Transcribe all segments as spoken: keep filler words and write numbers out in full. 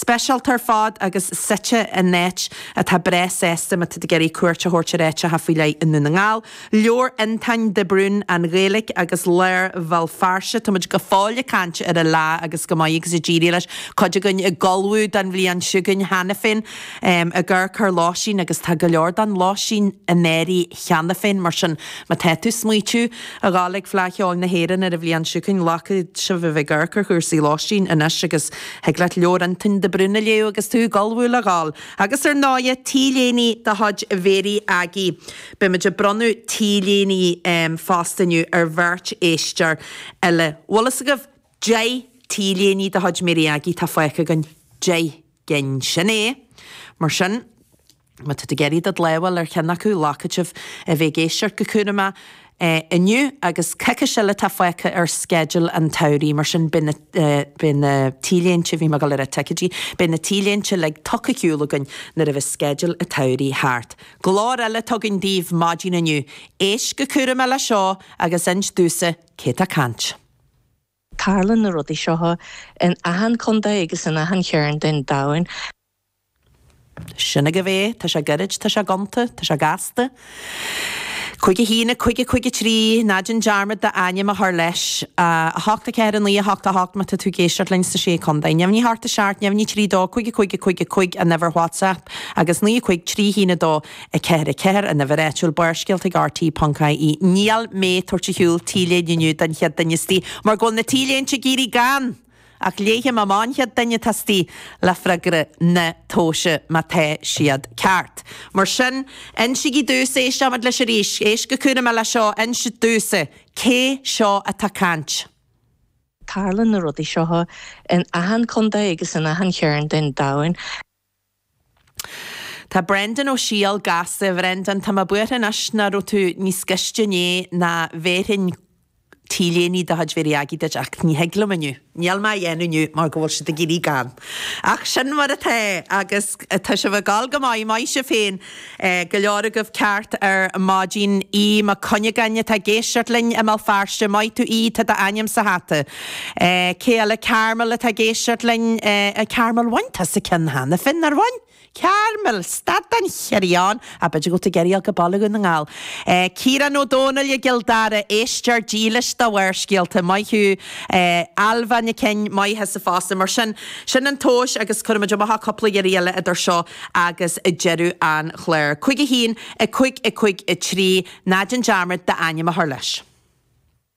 Speisialta ar fad agus suite in áit atá breá sásta má tá tú ag iarraidh cuairt a thabhairt ar áiteacha faoi leith i nDún na nGall. Leabhar Fhionntáin de Brún, An Ghaeilge agus Lár Bhéal Feirste. Táimid go fóill ag caint ar an Fhleá agus go maith agus ag éirí leis. Cuid againn ag ullmhú don bhliain seo chugainn cheana féin ag amharc ar lóistín agus tá go leor den lóistín in áirithe cheana féin mar sin má tá tú ag smaoitiú a ghabháil ag Fleadh Cheoil na hÉireann ar an bhliain seo chugainn glacfaidh sibh a bheith ag amharc ar chúrsaí lóistín anois agus thig leat leabhar Fhionntáin de Brún a léamh agus tú ag ullmhú le ghabháil. Agus ar ndóighe T-léiní de chuid Mhéirí Aggie. Beimid ag bronnadh T-léiní fosta inniu ar bheirt éisteoir eile. Bhfuil fhios agaibh deich T-léiní de chuid Mhéirí Aggie tá fágtha againn. Deich gcinn. Sin é. Mar sin, má tá tú ag iarraidh do lámh ar cheann acu, glacfaidh sibh a bheith ag éisteacht go cúramach inniu agus coicís eile atá fágtha ar sceideal an tsamhraidh, mar sin beidh na, beidh na T-léinte, bhí mé ag dul a rá ticéidí, beidh na T-léinte uilig tugtha ar shiúl againn nuair a bheas sceideal an tsamhraidh thart. Glór eile atá againn daoibh maidin inniu. Éist go cúramach le seo agus inis domhsa cé tá ag caint. Tarlaíonn na rudaí seo in achan contae agus in achan chearn den domhan. Sin agaibh é, tá sé gairid, tá sé gonta, tá sé gasta. Cúig a haon, a cúig, a cúig a trí, ná déan dearmad d'ainm a chur leis. A hocht, a ceathair, a naoi, a hocht, a hocht má tá tú ag éisteacht linn sna Sé Chontae. Neamhní a hocht, a seacht, neamhní trí, dó, cúig, a cúig, a cúig, a cúig an uimhir WhatsApp agus naoi, a cúig, trí, haon, a dó, a ceathair, a ceathair an uimhir áitiúil Barrscéalta ag RT ponc IE. Níl mé ag tabhairt ar shiúl T-léine inniu don chéad duine istigh mar go bhfuil na T-léinte ag éirí gann! Ach léifidh mé amach an chéad duine atá istigh le freagra na tomhaise má tá siad ceart. Mar sin, insígí domhsa, éisteoimid leis arís, éist go cúramach le seo, inis domhsa, cé seo atá ag caint? Tarlaíonn na rudaí seo in achan contae agus in achan chearn den domhan. Tá Brendan Ó Siadhail gasta, a Bhrendan, tá mé buartha anois nach raibh tú níos gaiste inné ná bhéarfainn T-léiní de chuid Mhéirí Aggie duit ach ní thig liom inniu. Níl mé á dhéanamh inniu mar go bhfuil siad ag éirí gann. Ach sin mar atá agus tá sibh ag gabháil go maith, maith sibh féin. Go leor agaibh ceart ar maidin. Aodh Mac Cuinneagáin atá ag éisteacht linn i mBéal Feirste. Maith tú Aodh, tá d'ainm sa hata. Cé eile? Carmel atá ag éisteacht linn. Carmel, bhain tusa ceann cheana féin, nár bhain? Carmel, stad den chrián! Ach b'fhéidir go bhfuil tú ag iarraidh dul go Baile Dhún na nGall. Ciarán Ó Dónaill i gCill Dara, éisteoir dílis do Bharrscéalta. Maith thú. Ailbhe Nic Fhinn, maith thusa fosta. Mar sin, sin an tomhas agus cuirfimid amach cúpla iarraidh eile idir seo agus deireadh an chláir. Cúig a haon, a cúig, a cúig, a trí, ná déan dearmad d'ainm a chur leis.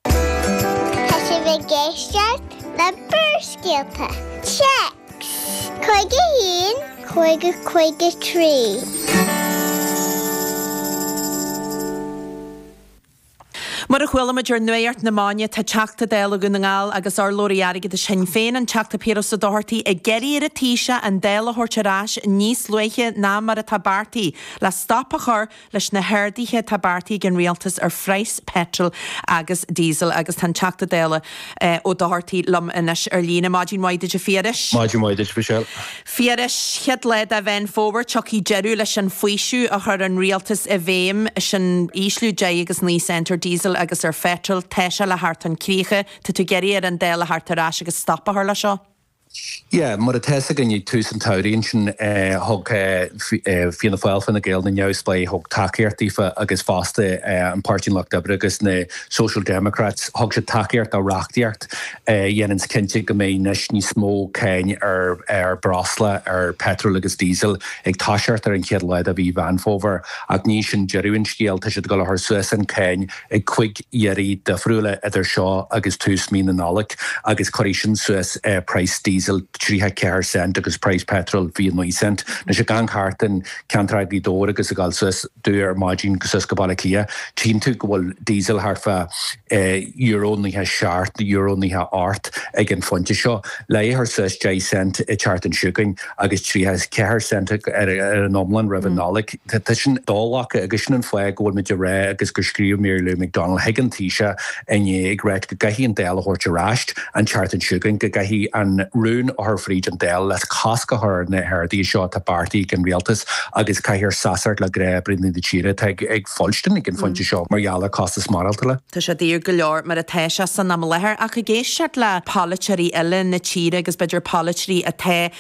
Tá sibh ag éisteacht le Barrscéalta. Téacs cúig a haon cúig a cúig a trí. Mar a chuala muid ar Nuacht na Maidine, tá Teachta Dála Dhún na nGall agus urlabhraí airgeadais Shinn Féin, an Teachta Piaras Ó Dochartaigh, ag iarraidh ar an Taoiseach an Dáil a thabhairt ar ais níos luaithe ná mar atá beartaithe le stop a chur leis na harduithe atá beartaithe ag an Rialtas ar phraghas peitril agus díosail agus tá an Teachta Dála Ó Dochartaigh liom anois ar líne. Maidin mhaith duit a Phiarais. Maidin mhaith duit Michelle. Phiarais, chéad lá de Mheán Fómhair, tiocfaidh deireadh leis an bhfaoiseamh a chuir an Rialtas i bhfeidhm, sin ísliú deich agus naoi cent ar díosal agus ar pheitreal. Tá sé le theacht chun críche. Tá tú ag iarraidh ar an Dáil a theacht ar ais agus stop a chur leis seo. Yeah, mar atá fhios againn ag tús an tsamhraidh ansin thug Fianna Fáil, Fine Gael, na Neamhspleáigh, thug tacaíocht daofa agus fosta an Páirtí an Lucht Oibre agus na Social Democrats, thug siad tacaíocht do reachtaíocht a dhéananns cinnte go mbeidh anois níos mó cáin ar ar breosla, ar petrol agus diesel ag toiseacht ar an chéad lá de mhí Mheán Fómhair. Ach ní sin deireadh an scéil, tá siad ag dul a chur suas an cáin ag cúig iarraidh difriúla idir seo agus tús mí na Nollag agus cuirfidh sin suas praghas diesel tríocha ceathair cent agus praghas petrol fiche naoi cent. Anois ag amharc thart in ceantar Ghaoth Dobhair agus ag dul suas domh ar maidin suas go Baile Átha Cliath, tchíonn tú go bhfuil diesel thart fá euro naocha seacht, euro naocha ocht ag an phointe seo. Le é a chur suas deich cent an tseachtain seo chugainn agus tríocha ceathair cent ar an iomlán roimh an Nollaig. Tá sin do-ghlactha agus sin an fáth go bhfuil muid ag rá agus gur scríobh Mary Lou McDonald chuig an Taoiseach inné ag ráit go gcaithfidh an Dáil a thabhairt ar ais an tseachtain seo chugainn, go gcaithfidh an rún a chur fríd an Dáil le cosc a chur ar na harduithe seo atá beartaithe ag an Rialtas agus caithfear seasamh le gnáthoibrithe na tíre atá ag fuilstin ag an phointe seo mar gheall ar costas maireachtála. Tá sé daor go leor mar atá sé san am i láthair ach ag éisteacht le polaiteoirí eile na tíre agus b'fhéidir polaiteoirí atá